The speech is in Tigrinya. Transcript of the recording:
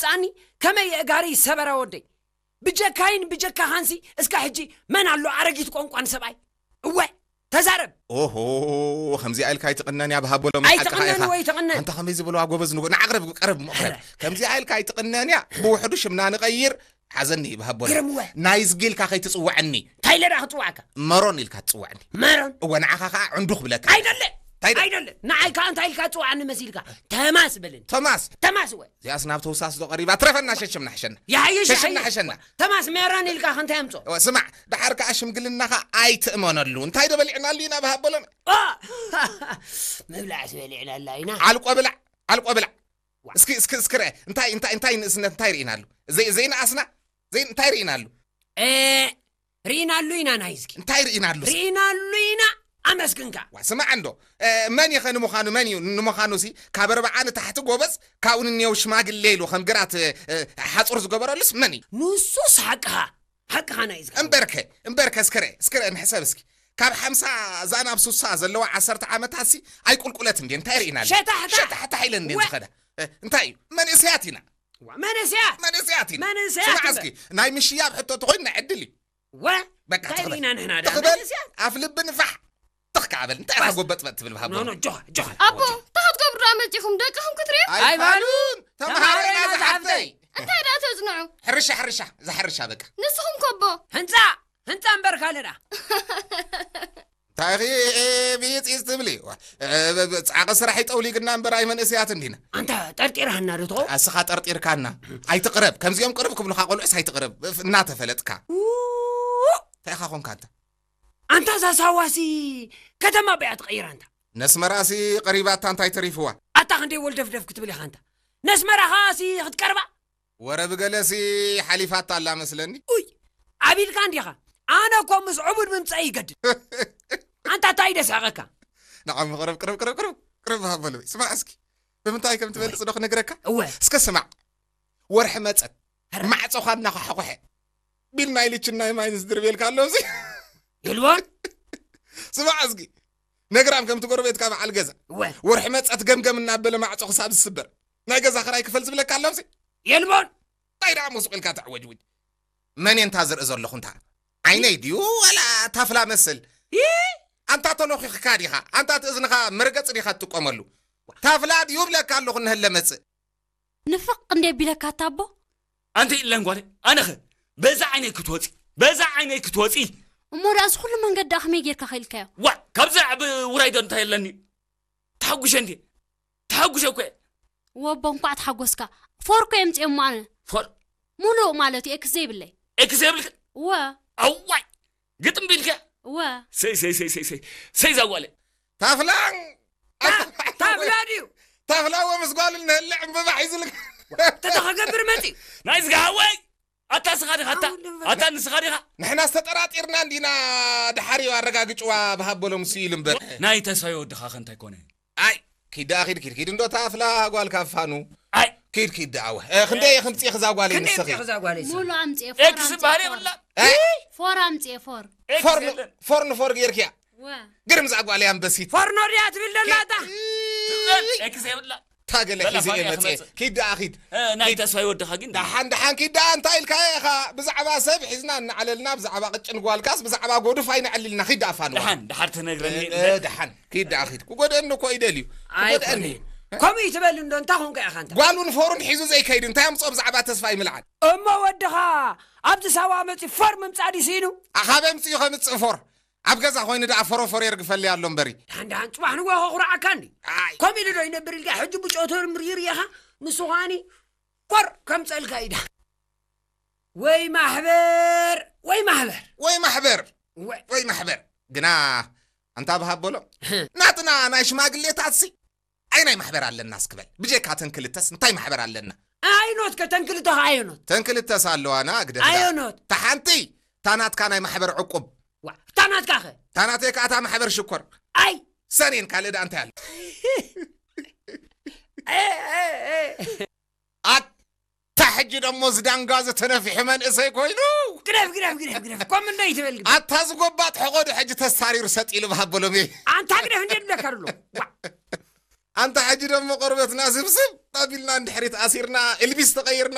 ጻኒ ከመይ የእጋሪ ሰበራ ወደይ። ብጀካይን ብጀካኻንሲ እስከ ሕጂ መን ኣሎ ኣረጊት ቋንቋን ሰብኣይ? እወ፣ ተዛረብ። ኦሆ፣ ከምዚኣ ኢልካ ኣይትቕነን እያ ብሃቦሎም። ኣይትቕነን ሓቅኻ ኢኻ። ወይ ትቕነን? ኣንታ ከመይ ዝበልዋ ጎበዝ ንጉ-፣ ንዓቕረብ ቀረብ እሞ ቀረብ። ኧረ። ከምዚኣ ኢልካ ኣይትቕነን እያ። ብውሕዱ ሽምና ንቐይር። ሓዘኒ ይብሃቦ። ግርም እወ። ናይ ዝጊልካ ከይትጽውዐኒ። እንታይ ኢለ ደኣ ክጽዋዕካ? መሮን ኢልካ ትጽውዐኒ። መሮን? እወ፣ ንዓኻ ኸኣ ዕንዱ ክብለካ። ኣይደለ። እንታይ ደ- ኣይደለ። ንዓይ ከኣ እንታይ ኢልካ ትጽውዓኒ መሲልካ? ተማስ በለኒ። ተማስ? ተማስ እወ። እዚኣስ ናብ ተውሳስ ዶ ቀሪባ? ትረፈና ሸሽምና ሕሸና። ይሓይሽ፣ ሸሽምና ይሓይሽ። ሕሸና። ተማስ መሮን ኢልካ ከ እንታይ ኣምጾ? እወ፣ ስማዕ፣ ደሓር ከኣ ሽምግልናኻ ኣይትእመነሉ። እንታይ ዶ በሊዕናሉ ኢና ብሃቦሎም? ኦ! ምብላዕስ በሊዕናላ ኢና። ዓልቆ ብላዕ፣ ዓልቆ ብላዕ። ዋ። እስኪ፣ እስኪ፣ እስኪ ርአ። እንታይ፣ እንታይ፣ እንታይ ንእስነት እንታይ ርኢናሉ? ዘይ-፣ ዘይነኣስና? ዘይ-፣ እንታይ ርኢናሉ? እ፣ ርኢናሉ ኢና ናይ እስኪ። እንታይ ርኢናሉ? ርኢናሉ ኢና፣ ኣመስግንካ። ዋ፣ ስማዕ እንዶ። እ፣ መን ኢኸ ንምዃኑ፣ መን እዩ? ንምዃኑሲ፣ ካብ ኣርብዓ ንታሕቲ ጎበዝ፣ ካብኡ ንኔው ሽማግሌ ኢሉ ከም ግራት፣ እ፣ ሓጹር ዝገበረሉስ መን እዩ? ንሱስ ሓቅኻ፣ ሓቅኻ ናይ እስኪ። እምበርከ፣ እምበርከ፣ እስኪ ርአ፣ እስኪ ርአ፣ ንሕሰብ እስኪ። ካብ ሓምሳ እዛ ናብ ሱሳ ዘለዋ ዓሰርተ ዓመታትሲ ኣይቁልቁለት እንዴ? እንታይ ርኢናሉ? ሸታሕታሕ። ሸታሕታሕ ኢለን እንዴ ወ- ዝኸዳ? እ፣ እንታይ እዩ? መንእሰያት ኢና። ዋ፣ መንእሰያት። መንእሰያት ኢና። መንእሰያት ስማዕ ኢና። እስኪ፣ ናይ ምሽያብ ሕቶ ተኾይኑ ናይ ዕድል እዩ። ወ፣ በቃ እንታይ ትኽበል። ርኢና ንሕና ደኣ ትኽበል። መንእሰያት? ኣፍ ልቢ ንፋሕ። ትኽ ከኣ በል። እንታይ ኢኻ ባስ። ጎበጥበጥ ትብል ብሃቦ? ኖ፣ ኖ፣ ጆ፣ ጆ። ኣቦ፣ እንታይ ክትገብሩ ደኣ መጺኹም? ደቅኹም ክትሪኡ? ኣይፋሉን። ኣይፋሉን። ተምሃሮ ተምሃሮ ኢና ኢና ዝሓፍተይ። ዝሓፍተይ። እንታይ ደኣ ተጽንዑ? ሕርሻ፣ ሕርሻ። እዛ ሕርሻ በቃ። ንስኹም ከ ኣቦ? ህንጻ፣ ህንጻ እምበር ካልእ ደኣ። እንታይ ኢኺ፣ እ፣ ቢጽ ኢዝ ትብሊ? ዋ፣ እ፣ ብ-፣ ብ-፣ ጻዕቒ ስራሕ ይጠውሊግና እምበር ኣይመንእሰያት እንዲና። ኣንታ ጠርጢርሃና ዶ ትኸውን? ኣስኻ ጠርጢርካና። ኣይትቕረብ። ከምዚኦም ቅርብ ክብሉኻ ቆልዑስ ኣይትቕረብ። ፍ-፣ እናተፈለጥካ። ው! እንታይ ኢኻ ኾንካ ኣንታ? ኣንታ እዛ ሳዋሲ ከተማ በያ ትቐይራ ኣንታ። ነስመራሲ ቀሪባታ እንታይ ተሪፍዋ? ኣታ ክንደይ ወልደፍደፍ ክትብል ኢኻ ኣንታ። ነስመራ ኸኣሲ ክትቀርባ? ወረ ብገለሲ ሓሊፋታ ኣላ መስለኒ። ኡይ፣ ዓቢልካ እንዲኻ። ኣነ እኮ ምስ ዕቡድ ምምጻእ ይገድድ። ኣንታ እንታይ ደስሕቐካ? ንዓም ቅረብ፣ ቅረብ፣ ቅረብ፣ ቅረብ፣ ቅረብ ሃበሉ። ስማዕ እስኪ። ብምንታይ ከም ትበልጽ ዶ ክነግረካ? እወ። እስከ ስማዕ። ወርሒ መጸት። ኧረ። ማዕጾኻ እናኳሓኾሐ። ቢል ናይ ልችን ናይ ማይንስ ድርቤልካ ኣሎ እዚ። የልቦን? ስማዕ እስኪ። ነግራም ከምቲ ጎረቤትካ በዓል ገዛ። እወ። ወርሒ መጸት ገምገም እናበለ ማዕጾ ክሳብ ዝስበር። ናይ ገዛ ክራይ ክፈል ዝብለካ ኣሎ እዚ። የልቦን? እንታይ ደኣ ሞስቕ ኢልካ ተዕወጅውጅ? መን እየ እንታ ዝርኢ ዘለኹ እንታ? ዓይነይ ድዩ ዋላ ታፍላ መስል? ይይ! ኣንታ ተሎኺኽካ ዲኻ? ኣንታ እቲ እዝንኻ መርገጺ ዲኻ ትጥቀመሉ? ታፍላ ድዩ እብለካ ኣለኹ እንሀለ መጽእ። ንፍቕ እንዴ ቢለካ ኣታ ኣቦ? ኣንቲ ኢለን ጓለይ፣ ኣነኸ በዛ ዓይነይ ክትወጺ፣ በዛ ዓይነይ ክትወጺ። እሞ ደኣ እዚ ኩሉ መንገዲ ደኣ ከመይ ጌርካ ኸኢልካዮ? ዋእ፣ ካብዚ ዓቢ ውራይ ዶ እንታይ ኣለኒ? ተሓጉሸ እንዴ? ተሓጉሸ እኮ እየ። ወቦ እንኳዕ ተሓጎስካ። ፎር እኮ የምጽኤ እሞ ኣነ። ፎር? ሙሉእ ማለት እዩ፣ ኤክስ ዘይብለይ። ኤክስ ዘይብልክ? እወ። ኣዋይ! ግጥም ቢልካ? እወ። ሰይ፣ ሰይ፣ ሰይ፣ ሰይ፣ ሰይ፣ ሰይ ዛጓለ። ታፍላን! ታ-፣ ታፍላ ድዩ? ታፍላ ወ ምስ ጓል እንህልዕ ዕምበባ ሒዙልካ። ተተኸገብር መጺ። ናይ ዝጋሃወይ! ኣታ ንስኻ ዲኻ፣ ኣታ፣ ኣታ ንስኻ ዲኻ። ንሕና ዝተጠራጢርና እንዲና፣ ድሓር እዩ ኣረጋግጭዋ ብሃበሎም እሱ ኢሉ እምበር። ናይ ተስፋይ ወድኻ ከ እንታይ ኮነ? ኣይ፣ ኪድ ደኣ ኪድ፣ ኪድ፣ ኪድ እንዶ ታፍላ ጓል ካፋኑ። ኣይ። ኪድ፣ ኪድ ደኣ ወ። እ፣ ክንደይ እየ ክምጽእ እዛ ጓለይ ክንደይ ንስኺ? እምጽእ እዛ ጓለይ ንስኺ? ሙሉ ኣምጽኤ፣ ፎር ኤክስ ኣምጽኤ፣ ባህሪ ፎር። የብላ። እ? ፎር ኣምጽኤ፣ ፎር። ፎር ን-፣ ፎር ንፎር ገይርክያ። ወ። ግርም እዛ ጓለይ ኣንበሲት። ፎርኖ ድያ ትብል ዘላ እታ? ኪድ። ትበል፣ ኤክስ የብላ። ታገለ በላ ሒዘ እየ ፋንያ መጽኤ። ክመጽእ። ኪድ ደኣ ኪድ። እ፣ ናይ ኪድ። ተስፋይ ወድኻ ግን ደሓን፣ ደሓን ኪድ ደኣ እንታይ ኢልካ ኢኻ? ብዛዕባ ሰብ ሒዝና እናዓለልና፣ ብዛዕባ ቅጭን ጓልካስ፣ ብዛዕባ ጎዱፍ ኣይነዕልልና። ኪድ ደኣ ፋንዋ። ደሓን፣ ደሓር ትነግረኒ እ፣ እ፣ ደሓን። ኪድ ደኣ ኪድ። ክጎድአኒ እኮ ይደልዩ። ክጎድአኒ። ኣይኮነን። ከምኡ ይትበል እንዶ፣ እንታይ ኾንካ ኢኻ እንተ? ጓሉን ፎሩን ሒዙ ዘይከይድ እንታይ ኣምጽኦ ብዛዕባ ተስፋይ ምልዓል? እሞ ወድኻ ኣብዚ ሳዋ መጺኡ ፎር ምምጻእ ድዩ ስኢኑ? ኣኻብ ኣምጺኡ ከምጽእ ፎር? ኣብ ገዛ ኮይኑ ደኣ ፎሮፎር የርግፈለይ ኣሎ እምበሪ። ደሓን ደሓን ጽባሕ ንግሆ ከኹርዓካ እንዲ። ኣይ። ከምኡ ኢሉ ዶ ይነብር ኢልካ ሕጂ ብጮቶ ምርይር ኢኻ? ንሱ ኸኣኒ ፎር ከምጸልካ ኢዳ። ወይ ማሕበር፣ ወይ ማሕበር። ወይ ማሕበር። ወይ። ወይ ማሕበር። ግና ኣንታ ብሃበሎ። ናትና ናይ ሽማግሌታትሲ ኣይ ናይ ማሕበር ኣለና እስክበል። ብጀካ ተን ክልተስ እንታይ ማሕበር ኣለና? ኣይኖት ከ ተን ክልተ ከ ኣይኖት? ተን ክልተስ ኣለዋና ግደፍ ደኣ። ኣይኖት። እታ ሓንቲ እታ ናትካ ናይ ማሕበር ዕቁብ። ዋ፣ እታ ናትካ ከ? እታ ናተይ ከኣ እታ ማሕበር ሽኮር። ኣይ። ሰኔን ካልእ ደኣ እንታይ ኣሎ? እ፣ እ፣ እ። ኣታ ሕጂ ደሞ ዝዳንጋ ዝተነፍሐ መንእሰይ ኮይኑ። ግደፍ፣ ግደፍ፣ ግደፍ፣ ግደፍ። ኮም እንዶ ይትበል ግደፍ። ኣታ ዝጎባጥ ሕቖ ዶ ሕጂ ተሳሪሩ ሰጥ ኢሉ ብሃበሎም እየ። ኣንታ ግደፍ እንዴ ድብለካ ኣሎ። ዋ። ኣንታ ሕጂ ደሞ ቆርበትና ስብስብ ኣቢልና እንድሕሪት ኣሲርና፣ ኤልቢስ ተቐይርና።